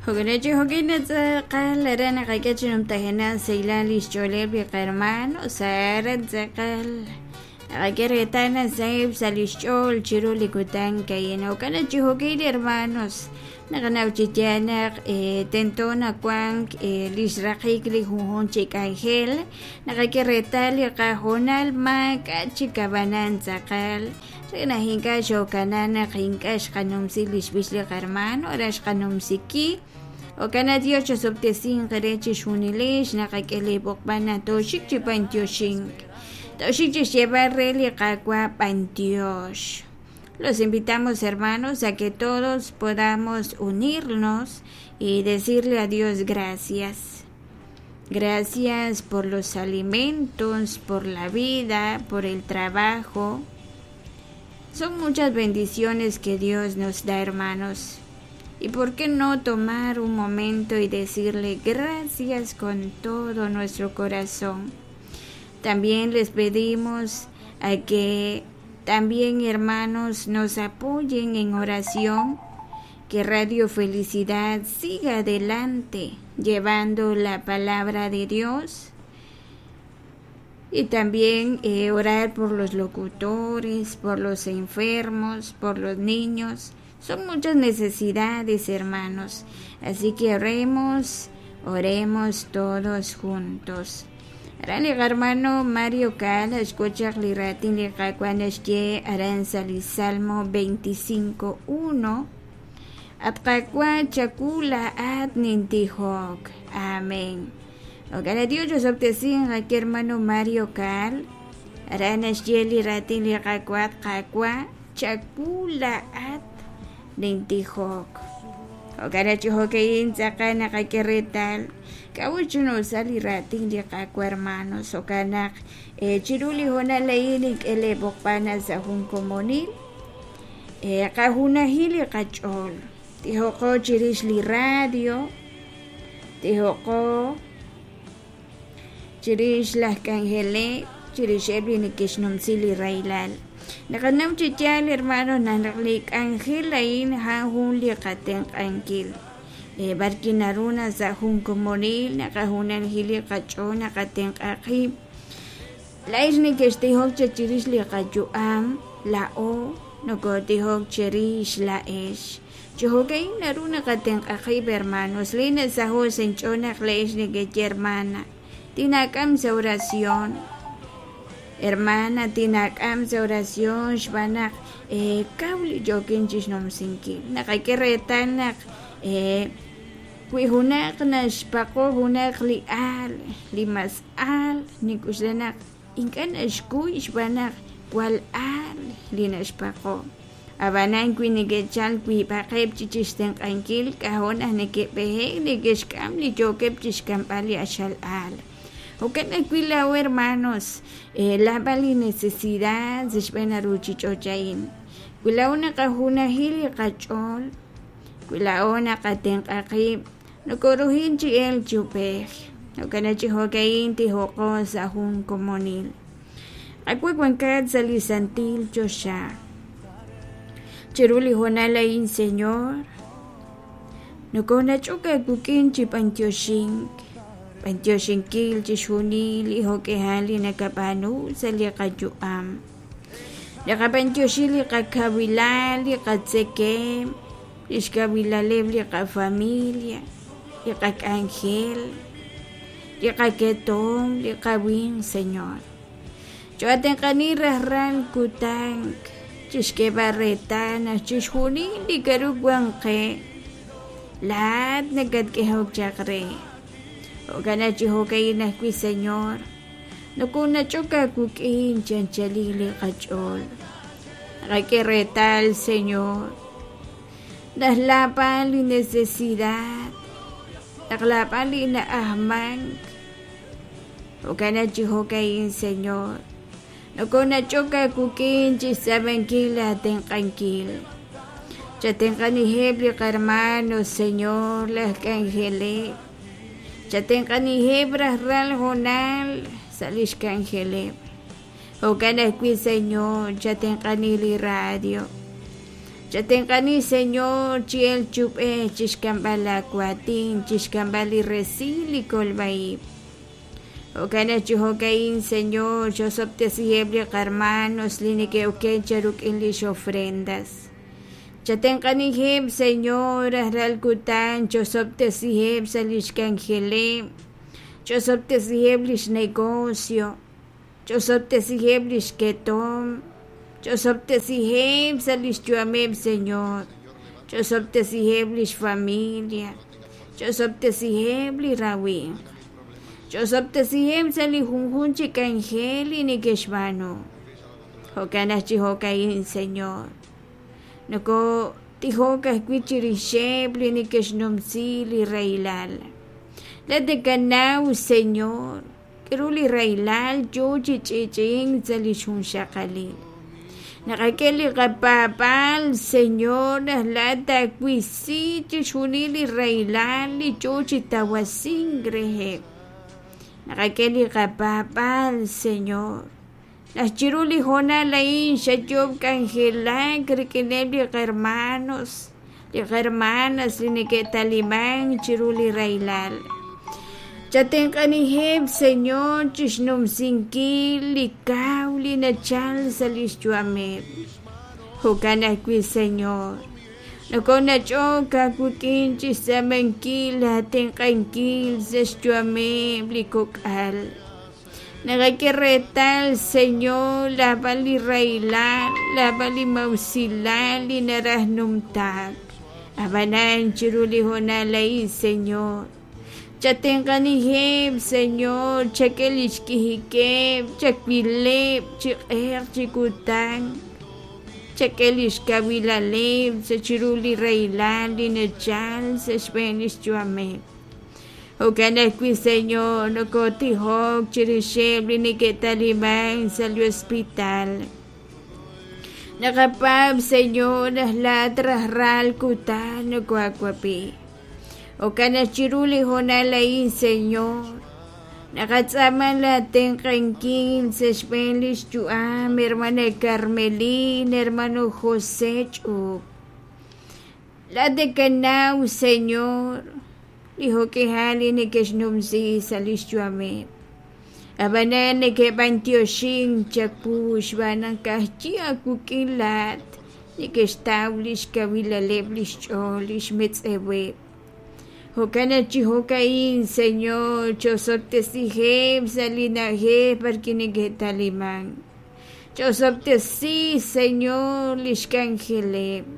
Jo'kan jo'kin tz'aqal aran naqak'e chi numtajenaq sahilal li xch'ooleb' li qahermano aran tz'aqal naqak'e reetal naq saheb' sa' li xch'ool chiru li kutan a'in. Jo'kan chi jo'kin hermanos naqanaw chi yaal naq tento nawank li xraqik li junjunq chi k'anjel naqak'e reetal li qahoonal maak'a' chik ab'anan tz'aqal re naq ink'a' xookana naq ink'a' xqanumsi li xb'ix li qahermano aran xqanumsi ki. Jo'kan naq Dios chosob'tesinq re chixjunilex naqak'e li b'oqb'al naq tooxik chi b'antioxink. Tooxik chi xyeeb'al re li Qaawa' b'antiox. Los invitamos, hermanos, a que todos podamos unirnos y decirle a Dios gracias. Gracias por los alimentos, por la vida, por el trabajo. Son muchas bendiciones que Dios nos da, hermanos. ¿Y por qué no tomar un momento y decirle gracias con todo nuestro corazón? También les pedimos a que también, hermanos, nos apoyen en oración, que Radio Felicidad siga adelante llevando la palabra de Dios y también orar por los locutores, por los enfermos, por los niños. Son muchas necesidades, hermanos. Así que oremos, oremos todos juntos. Aran li hermano Mario Cal, escucha li raatin li Qaawa' naxye aran sa' li Salmo 25.1. At Qaawa' chawu laa'at nintijok. Amén. Jo'kan Dios chosob'tesinq aki hermano Mario Cal. Aran naxye li raatin li Qaawa' Qaawa' chawu laa'at nintijok. Jo'kan chi jo'ka'in tz'aqal naqak'e reetal k'a'ut xnusal li raatin li Qaawa' hermanos. Jo'kan naq chiru li hoonal a'in nink'e lee b'oqb'al sa' jun komonil qajunajil li qach'ool. Tijoqo chirix li radio, tijoqo chirix laj k'anjeleb', chirixeb' li neke'xnumsi li rahilal. Naqanaw chi yaal, hermano, naq li k'anjel a'in a'an jun li qatenq'ankil. B'arki naru na sa' jun komonil naqajunajil li qach'ool naqatenq'a qib'. Laa'ex neke'xtijok chirix li qayu'am, laa'o nokotijok chirix laa'ex. Chi jo'ka'in naru naqatenq'a qib', hermanos. Li nasaho' sa' inch'ool naq laa'ex nekeye, hermana, tinak'am sa' oración. Hermana, tinak'am sa' oración xb'aan naq kaw li yookin chixnumsinkil. Naqak'e reetal naq wi junaq naxpaqo junaq li aal, li mas aal, nik'uxla naq ink'a' naxkuy xb'aan naq wal aal li naxpaqo. Ab'anan wi neke'chal wiib'aqeb' chi chixtenq'ankil k'ajo' naq neke'b'ehek neke'xk'am li yookeb' chixk'amb'al li axal aal. Jo'kan ajwi' laa'o hermanos, laab'al li necesidad sa' xb'een ruuchich'och' a'in. Wi laa'o naqajunajil li qach'ool, wi laa'o naqatenq'a qib', nokoruhin chi elk chi ub'ej. Jo'kan chi jo'ka'in tijoqo sa' jun komonil. Qaawa' wankat sa' li santil choxa. Chiru li hoonal a'in, Señor, nokonach'ok aawik'in chi b'antioxink, b'antioxinkil chixjunil li jo'k'ihal li nakab'aanu sa' li qayu'am. Naqab'antioxi li qakawilal, li qatzekem, li xkawilaleb' li qafamilia, li qak'anjel, li qaketom, li qawinq, Señor. Cho'atenq'ani rajlal kutan chixk'eeb'al reetal naq chixjunil li k'aru wan qe laa'at nakatk'ehok chaq re. Jo'kan chi jo'ka'in ajwi', Señor, nokonach'ok aawik'in chi anchalil li qach'ool. Naqak'e reetal, Señor, naq laab'al li necesidad, naq laab'al li na'ajmank. Jo'kan chi jo'ka'in, Señor, nokonach'ok aawik'in chixtz'ab'ankil aatenq'ankil. Chatenq'aniheb' li qarmano, Señor, laj k'anjeleb'. Chatenq'aniheb' rajlal hoonal sa' lix k'anjeleb'. Jo'kan ajwi', Señor, chatenq'ani li radio. Chatenq'ani, Señor, chi elk chi ub'ej chixk'amb'al laa waatin, chixk'amb'al li resil li kolb'a-ib'. Jo'kan naq chi jo'ka'in, Señor, xosob'tesiheb' li qarmanos li neke'oken cheruk'in lix ofrendas. Chatenq'aniheb', Señor, rajlal kutan chosob'tesiheb' sa' lix k'anjeleb', chosob'tesiheb' lix negocio, chosob'tesiheb' lix ketomq, chosob'tesiheb' sa' lix yu'ameb', Señor, chosob'tesiheb' lix familia, chosob'tesiheb' li rawimq. Chosob'tesiheb' sa' li junjunq chi k'anjel li neke'xb'aanu. Jo'kan naq chi jo'ka'in, Señor, nokotijok ajwi' chirixeb' li neke'xnumsi li rahilal. Laa'at nakanaw, Señor, k'aru li rahilal yo chi ch'i'ch'i'ink sa' li xjunxaqalil. Naqak'e li qapaab'aal, Señor, naq laa'at taawisi chixjunil li rahilal li yo chi tawasink reheb'. Naqak'e li qapaab'aal, Señor, naq chiru li hoonal a'in xayoob' k'anjelak rik'ineb' li qahermanos, li qahermanas li neke'talimank chiru li rahilal. Chatenq'aniheb', Señor, chixnumsinkil li kaw li nachal sa' lix yu'ameb'. Jo'kan ajwi', Señor, nokonach'ok aawik'in chixtz'aamankil aatenq'ankil sa' xyu'ameb' li kok'al. Naqak'e reetal, Señor, naab'al li rahilal, naab'al li maa'usilal li naraj numtaak. Ab'anan chiru li hoonal a'in, Señor, chatenq'aniheb', Señor, chak'e li xk'ijikeb', chawileb' chi q'eq chi kutan, chak'e li xkawilaleb' sa' chiru li rahilal li nachal sa' xb'een li xyu'ameb'. Jo'kan ajwi', Señor, nokotijok chirixeb' li neke'talimank sa' li hospital. Naqapaab', Señor, naq laa'at rajlal kutan nokoaawab'i. Jo'kan naq chiru li hoonal a'in, Señor, naqatz'aama laatenq'ankil sa' xb'een lix yu'am hermana Carmelina, hermano José Ch'up. Laa'at nakanaw, Señor, li jo'k'ihal li neke'xnumsi sa' lix yu'ameb'. Ab'anan neke'b'antioxink chawu xb'aan naq ka'ajwi' aawik'in laa'at neke'xtaw lix kawilaleb' lix ch'ool, lix metz'eweb'. Jo'kan naq chi jo'ka'in, Señor, chosob'tesiheb' sa' li na'ajej b'arwi' neke'talimank. Chosob'tesi, Señor, lix k'anjeleb'.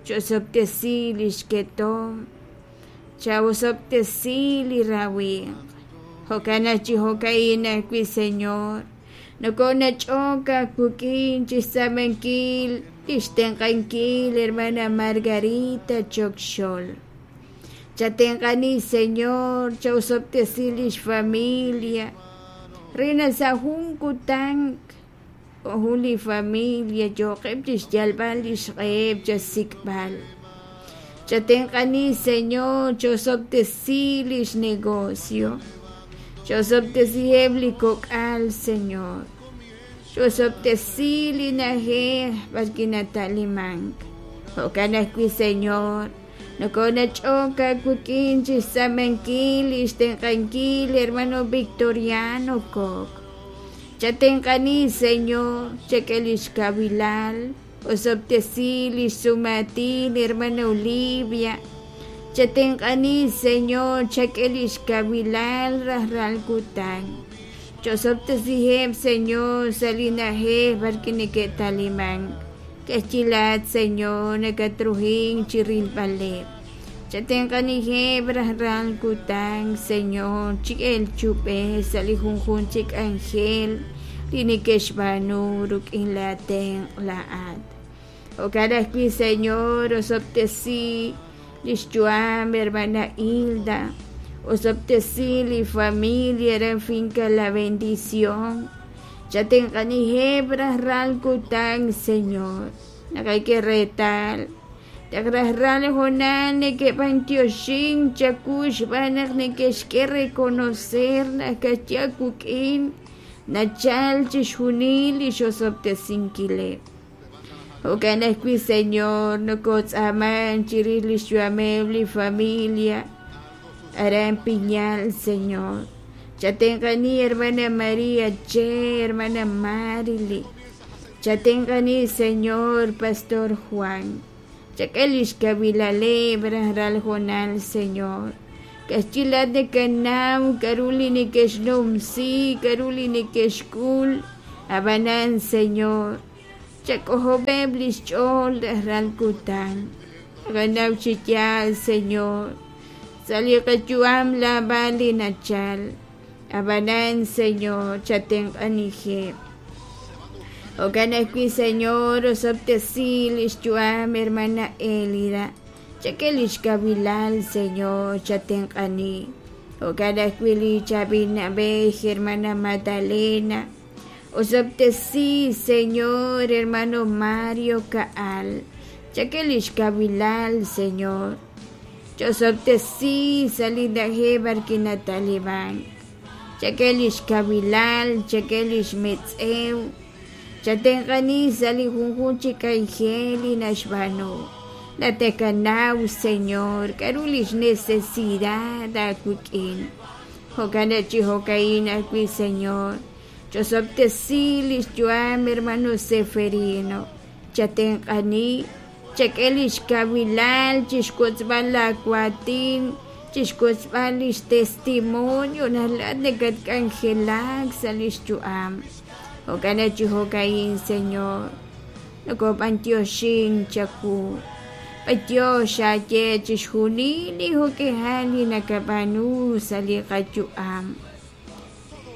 Chosob'tesi lix ketomq. Chawosob'tesi li rawimq. Jo'kan naq chi jo'ka'in ajwi', Señor, nokonach'ok aawik'in chixtz'aamankil lix tenq'ankil hermana Margarita Chokxol. Chatenq'ani, Señor, chawosob'tesi lix familia re naq sa' jun kutan jo' jun li familia yooqeb' chixyalb'al lix q'eheb' chasik'b'al. Chatenq'ani, Señor, chosob'tesi lix negocio. Chosob'tesiheb' li kok'al, Señor. Chosob'tesi li na'ajej b'arwi' nata'limank. Jo'kan ajwi', Señor, nokonach'ok aawik'in chixtz'aamankil lix tenq'ankil hermano Victoriano Kok. Chatenq'ani, Señor, chak'e lix kawilal, osob'tesi lix sumaatin hermana Olivia. Chatenq'ani, Señor, chak'e lix kawilal rajlal kutan. Chosob'tesiheb', Señor, sa' li na'ajej b'arwi' neke'talimank. Ka'ajwi' laa'at, Señor, nakatruhink chirilb'aleb'. Chatenq'aniheb' rajlal kutan, Señor, chi elk chi ub'ej sa' li junjunq chi k'anjel li neke'xb'aanu rik'in laatenq' laa'at. Jo'kan ajwi', Señor, osob'tesi lix yu'am hermana Hilda, osob'tesi li familia aran Finca La Bendición. Chatenq'aniheb' rajlal kutan, Señor, naqak'e reetal naq rajlal hoonal neke'b'antioxink chawu xb'aan naq neke'xk'e reconocer naq ka'ajwi' aawik'in nachal chixjunil li xosob'tesinkileb'. Jo'kan ajwi', Señor, nokotz'aaman chirix lix yu'ameb' li familia aran Piñal, Señor. Chatenq'ani hermana María Che, hermana Marily. Chatenq'ani, Señor, Pastor Juan. Chak'e lix kawilaleb' rajlal hoonal, Señor. Ka'ajwi' laa'at nakanaw k'a'ru li neke'xnumsi, k'a'ru li neke'xk'ul. Ab'anan, Señor, chak'ojob'eb' lix ch'ool rajlal kutan. Naqanaw chi yaal, Señor, sa' li qayu'am naab'al li nachal. Ab'anan, Señor, chatenq'aniheb'. Jo'kan ajwi', Señor, osob'tesi lix yu'am hermana Elida. Chak'e lix kawilal, Señor, chatenq'ani. Jo'kan ajwi' li chaab'il na'b'ej, hermana Magdalena. Osob'tesi, Señor, hermano Mario Ka'al. Chak'e lix kawilal, Señor. Ch'osob'tesi sa' li na'ajej b'arwi' nata'lib'ank. Chak'e lix kawilal, chak'e lix metz'ew. Chatenq'ani sa' li junjunq chi k'anjel li naxb'aanu. Natakanaw, Señor, k'a'ru lix necesidad aawik'in. Jo'kan naq chi jo'ka'in ajwi', Señor, ch'osob'tesi lix yu'am hermano Zeferino. Chatenq'ani, chak'e lix kawilal chixwotzb'al laa waatin, chixwotzb'al lix testimonio naq laa'at nakatk'anjelak sa' lix yu'am. Jo'kan naq chi jo'ka'in, Señor, nokob'antioxin chawu. B'antiox aaye chixjunil li jo'k'ihal li nakab'aanu sa' li qayu'am.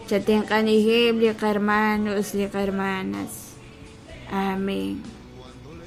Chatenq'aniheb' li qarmanos, li qarmanas. Amén.